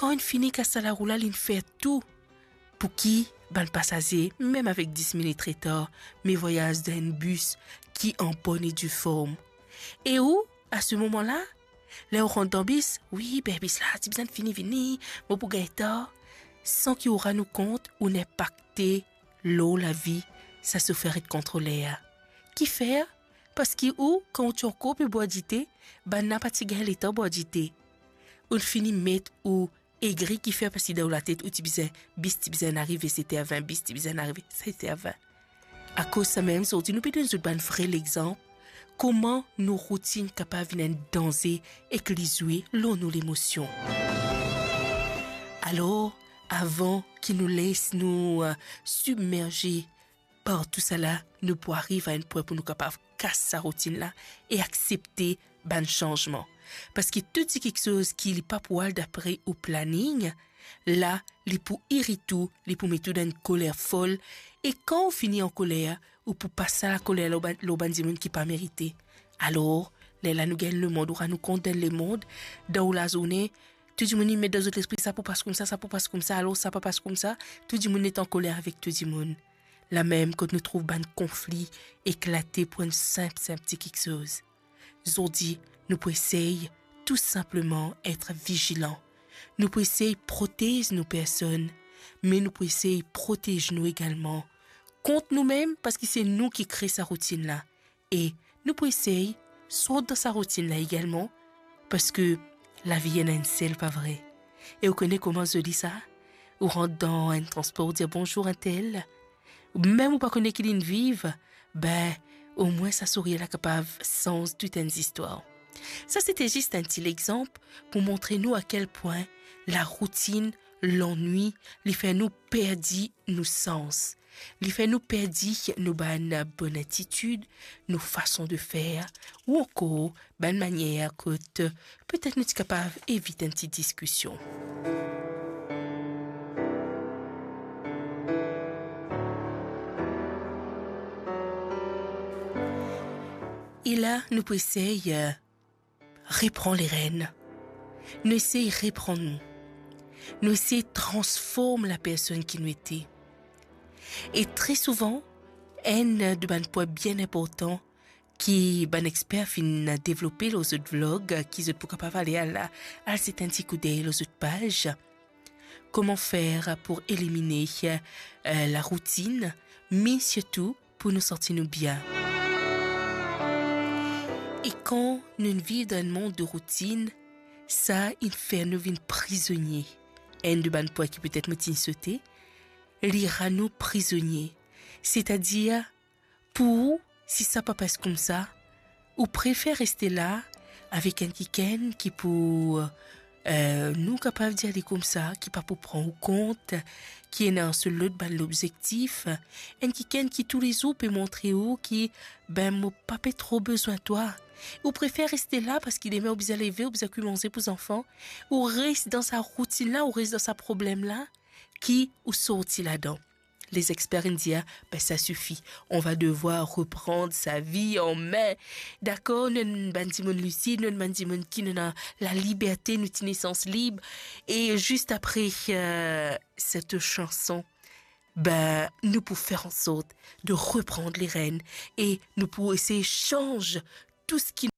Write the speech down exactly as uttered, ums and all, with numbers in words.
Kan inn fini kas sa larou la, linn fer tou pou ki bann pasaze, mem avek dis minit retar, me vwayaz dan enn bis ki an bonn e di form. E ou, a se moman la, ler ou rant dan bis, wi, be bis la ti bizin fini vini, mo pou gagn tar, san ki ou rann ou kont, ou inpakte lor lavi sa sofer ek kontroler. Kifer? Parski ou, kan ou ti ankor pe bwar dite, bann la pa ti gagn letan bwar dite. Ou fini met ou egri, kifer? Parski dan ou latet ou ti bizin, bis ti bizin arive set er vin, bis ti bizin arive set er vin. Akoz samem, zordi nou pe donn zot bann vre lexanp, kouma nou routinn kapav vinn enn danze ek li zwe lor nou lemosion. Alor, avan ki nou les nou, eh, sibmerze par tousala, nou pou ariv a enn pwin pou nou kapav kas sa routinn la e aksepte bann sanzman. Parski tou ti kiksoz ki li pa pou al dapre ou planing, la, li pou irit ou, li pou met ou dan enn koler fol, e kan ou fini an koler, ou pou pas sa lakoler lor bann, lor bann dimoun ki pa merite. Alor, lerla nou gagn lemond, ou rann ou kont dan lemond, dan ou lazourne, tou dimoun inn met dan zot lespri, sa pou pas koumsa, sa pou pas koumsa, alor sa pa pas koumsa, tou dimoun net an koler avek tou dimoun. Lamem kot nou trouv bann konfli eklate pou enn sinp, sinp ti kiksoz. Zordi, nou pou esey tou sinpleman et vizilan. Nou pou esey protez nou personn, me nou pou esey protez nou egalman kont noumem, parski se nou ki kre sa routinn la. E nou pou esey sort dan sa routinn la egalman, parski lavi ena enn sel, pa vre? E ou kone kouma zoli sa? Ou rant dan enn transpor, ou dir bonzour entel. Mem ou pa kone ki linn viv, be, omwin sa sourir la kapav sanz tou enn zistwar. Sa sete zis enn ti lexanp pou montre nou a kel pwin laroutinn, lannwi, li fer nou perdi nou sans. Li fer nou perdi nou bann bonn atitid, nou fason de fer, ou ankor bann manier kot petet nou ti kapav evit enn ti diskision. E la, nou pou esey, eh, repran lerenn. Nou esey repran nou. Nou esey transform lapersonn ki nou ete. E tre souvan, enn de bann pwin bien inportan ki bann exper finn devlope lor zot vlog, ki zot pou kapav ale al, al zet enn ti koudey lor zot paz, Comment faire pour éliminer, euh, la routine, mais surtout pour nous sentir nou bien. E kan nou viv dan enn mond de routinn, sa inn fer nou vinn prizonie. Enn de bann pwin ki petet mo ti inn sote, li rann nou prizonie. Setadir, pou ou, si sa pa pas koumsa, ou prefer reste la avek enn kikenn ki pou, eh, nou kapav dir li koumsa, ki pa pou pran ou kont, ki ena so lot bann lobzektif, enn kikenn ki toulezour pe montre ou ki, be, mo pa pe tro bizin twa. Ou prefer reste la parski demin ou bizin leve, ou bizin kwi manze pou zanfan. Ou res dan sa routinn la, ou res dan sa problem la, ki ou sorti ladan. Les experts inn dir, be, ça suffit, on va devoir reprendre sa vie en main. Dakor, nou enn bann dimoun lisid, nou enn bann dimoun ki nou ena laliberte, nou ti nesans lib. E zis apre, euh, set sanson, be, nou pou fer an sort de repran lerenn e nou pou esey sanz tou seki